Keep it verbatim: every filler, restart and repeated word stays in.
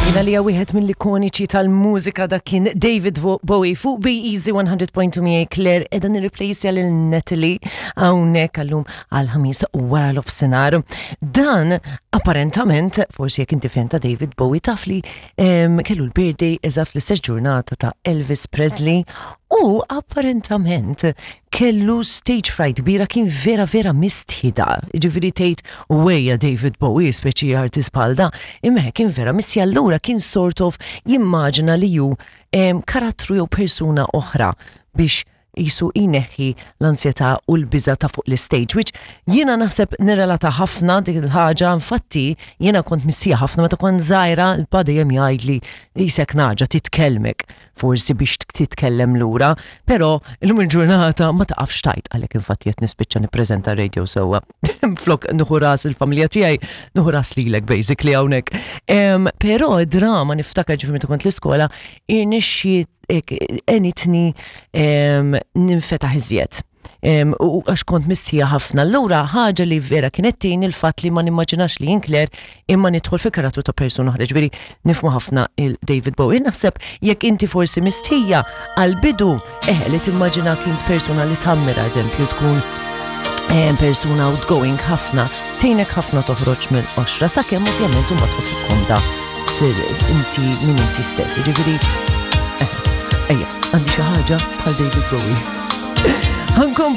Jina li wieħed mill-ikoniċi tal-mużika, dak kien David Bowie fuq Be Easy one hundred point two miegħi Claire, qiegħda nirreplace lil Natalie hawnhekk għallum għal-Ħamis wara l-nofsinhar. Dan apparentament, forsi jekk inti fan ta' David Bowie, taf li em, kellu l-birthday eżatt fl-istess ġurnata ta' Elvis Presley u apparentament kellu stage fright kbira, kien vera vera mistħida. Ġifieri tgħid wejja David Bowie, speċi artist bħal da, imma kien vera mistħi, allura kien sort of jimmaġina li ju em, karattru jew persuna oħra biex jisu ineħħi l-ansjetà u l-biża ta' fuq l-stage, which jiena naħseb nirrelata ħafna dik il-ħaġa. Infatti jiena kont mistħija ħafna meta kont żgħira, il-pa dejjem jgħidli qisek nagħġa titkellmek, forsi biex titkellem lura, però illum il-ġurnata ma taqafx tajt, għalhekk infatti qed nispiċċa nippreżenta radio sewwa. Flok nieħu ras il-familja tiegħi, nieħu ras lilek basically hawnhekk. Em, Però drama niftakar, ġifieri meta kont l-iskola, irnexxi għenitni ninfetaħ iżjed. Em, U għax kont mistħija ħafna. Allura ħaġa li vera kienet tgħin il-fatt li ma nimmaġinax li jien Claire imma nidħol fi karattru ta' persuna oħra. Ġifieri nifhmu ħafna il-David Bowie. Naħseb jekk inti forsi mistħija għal-bidu, eh, li timmaġina kint persuna li tammira, eżempju, tkun eh, persuna outgoing ħafna, tgħinek ħafna toħroġ mill-qoxra, sakemm ovvjament ma tħossok komda fil inti minn inti stess. Ġifieri, eh, ejja, għandi xi ħaġa bħal David Bowie. Ħankom